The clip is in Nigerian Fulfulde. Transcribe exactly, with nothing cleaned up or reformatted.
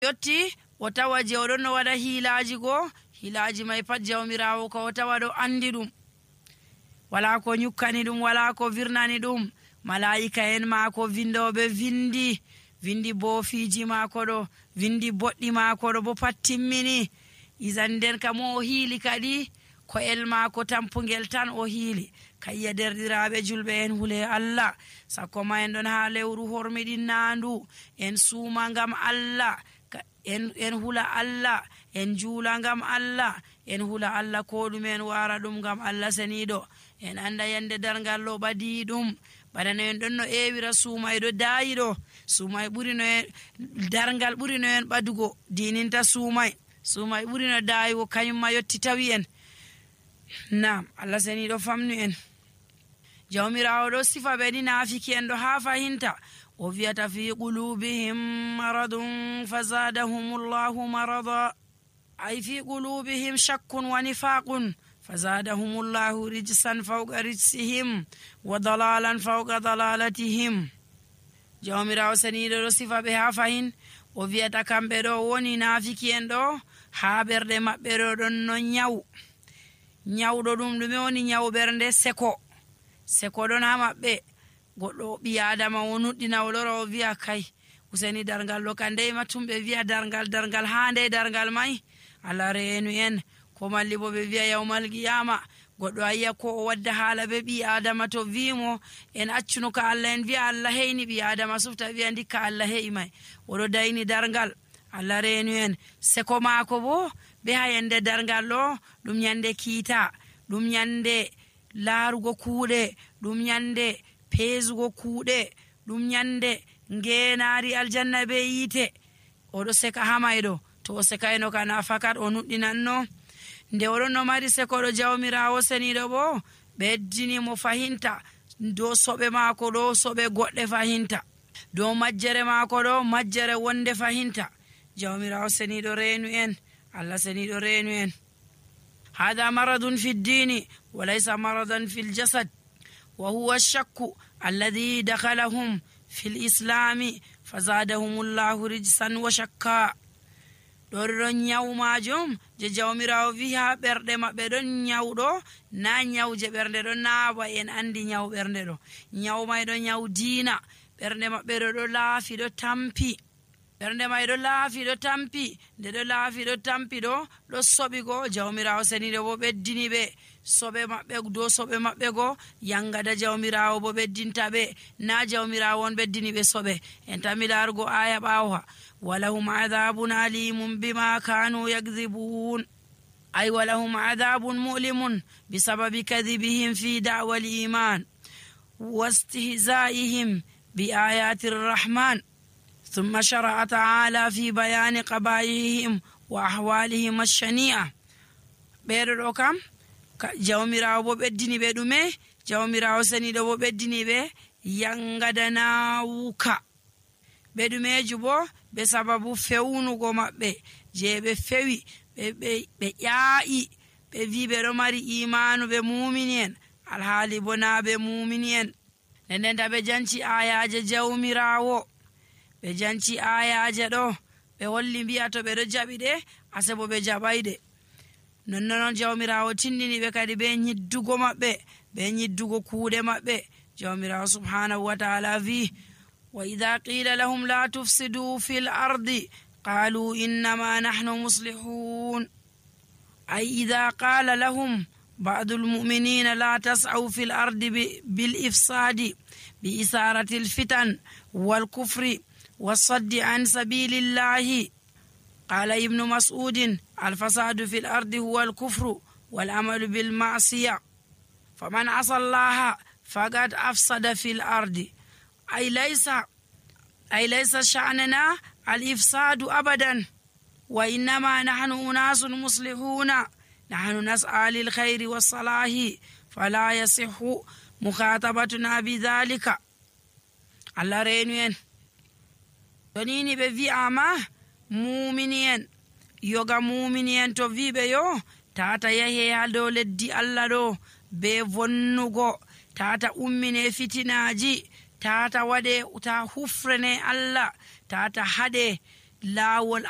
yotti o tawa je oɗon no waɗa hiilaaji goo hiilaaji may pat jawmirawo ko o tawa ɗo andi ɗum, wala ko nyukkani ɗum, wala ko virnani ɗum. malaika en maako vindoɓe vindi vindi boofiji maako ɗo, vindi boɗɗi maako ɗo bo pat timmini. isan nden ka mo o hiili kadi ko el maako tampugel tan o hiili. kayya derɗiraɓe julɓe en hule Allah, sakko ma en ɗon ha lewru hormiɗin nandu, en suuma ngam Allah, en, en hula Allah, en juula ngam Allah, en hula Allah ko ɗum en wara ɗum ngam Allah seniɗo. en anda yande dargal ɗo ɓadi ɗum, baɗano en ɗon no ewira suumay ɗo daayi ɗo. suumay ɓuri no en dargal ɓuri no en ɓadugo dininta suumay suumay ɓuri no daayigo kañumma yotti tawi en. nam Allah seniɗo famnu en. jawmirawo ɗo sifa ɓe ni naafiki en ɗo ha fahinta o wiyata fi qulubihim maradun fazadahumullahu marada, ay fi qulubihim shakkun wa nifaqun fazadahumullahu rijsan fawqa rijsihim wa dalalan fawqa dalalatihim. jawmirawo seniɗo ɗo sifa ɓe ha fahin o wiyata kamɓe ɗo woni naafiki en ɗo ha ɓerɗe maɓɓe ɗo ɗon no nyawu. nyawɗo ɗum ɗume woni nyawu ɓernde? seko seko ɗon ha maɓɓe. goɗɗo ɓi adama o nuɗɗina o lora o wiya kay useni dargal ɗo kan ndey matum ɓe wiya dargal dargal ha nde dargal may. Allah reenu en. ko malli bo ɓe wiya yawmal qiyama goɗɗo ayiya ko o wadda haala be ɓi adama to wimo en accuno ka Allah, en wiya Allah heyni ɓi adama sufta wiya ndikka Allah heyi may, oɗo dayni dargal. Allah reenu en. seko maako bo be ha yande dargal ɗo ɗum yande kiita, ɗum yande laarugo kuuɗe, ɗum yande peesugo kuuɗe, ɗum yande ngeenaari aljanna be yiite. oɗo seka ha mayɗo. to o sekayno kana fakat o nuɗɗinanno. nde oɗon no mari sekoɗo jawmirawo seniɗo bo ɓeddini mo fahinta dow soɓe maako ɗo soɓe goɗɗe fahinta, dow majjere maako ɗo majjere wonde fahinta. jawmirawo seniɗo reenu en. Allah seniɗo reenu en. hada maradun fi ddini wa laysa maradan fi ljasad wa huwa shakku alladhi dakhalahum fi lislami fazadahum llahu rijsan wa shakka. ɗo ɗon nyawu majum je jawmirawo wi ha ɓerɗe maɓɓe ɗon nyawɗo, na nyawu je ɓernde ɗo naawa. en andi nyawu ɓernde ɗo, nyawu may ɗo nyawu diina. ɓernde maɓɓe ɗo ɗo laafi ɗo tampi, ɓernde may ɗo laafi ɗo tampi. nde ɗo laafi ɗo tampi ɗo ɗo soɓi go. jawmirawo seniɗo bo ɓeddini ɓe soɓe maɓɓe dow soɓe maɓɓe go. yangada jawmirawo bo ɓeddinta ɓe, na jawmirawo on ɓeddini ɓe soɓe. en tami larugo aya ɓawa walahum adabun alimun bima kanu yakdhibun, ay walahum adabun mu'limun bisababi kadhibihim fi da'wa al-iman wastihza'ihim bi ayati ar-rahman. ثم شرع تعالى في بيان قبائحهم وأحوالهم الشنيعة. ɓeɗo kam jawmirawo bo ɓeddini ɓe ɗume? jawmirawo seniɗo bo ɓeddini ɓe yangada nawuka. ɓe ɗumeju bo ɓe sababu fewnugo maɓɓe je ɓe fewi ɓe ƴaayi ɓe wi ɓe ɗo mari imanu ɓe mumini en alhaali bo na ɓe mumini en. nden ta ɓe janci ayaje jawmirawo, ɓe janci ayaje ɗo ɓe holli mbiya to ɓe ɗo jaɓi ɗe ase bo ɓe jaɓayɗe. nonnonon jawmirawo tindini ɓe kadi ɓe nyiddugo maɓɓe, ɓe nyiddugo kuuɗe maɓɓe. jawmirawo subhanahu wa ta'ala wi wa idha qila lahum la tufsidu fil ardi qalu innama nahnu muslihun, ay idha qala lahum ba'du almu'minina la tas'aw fil ardi bil ifsadi bi isarati al fitan wal kufri والصد عن سبيل الله. قال ابن مسعود الفساد في الأرض هو الكفر والعمل بالمعصية، فمن عصى الله فقد أفسد في الأرض. أي ليس أي ليس شأننا الإفساد أبدا، وإنما نحن أناس مصلحون، نحن نسعى للخير والصلاح فلا يصح مخاطبتنا بذلك. الله رينوين tonini ɓe wi'ama mumini en yoga mumini en to wiɓe yo tata yahe ha dow leddi Allah ɗo be vonnugo, tata ummine fitinaji, tata waɗe ta hufrene Allah, tata haɗe laawol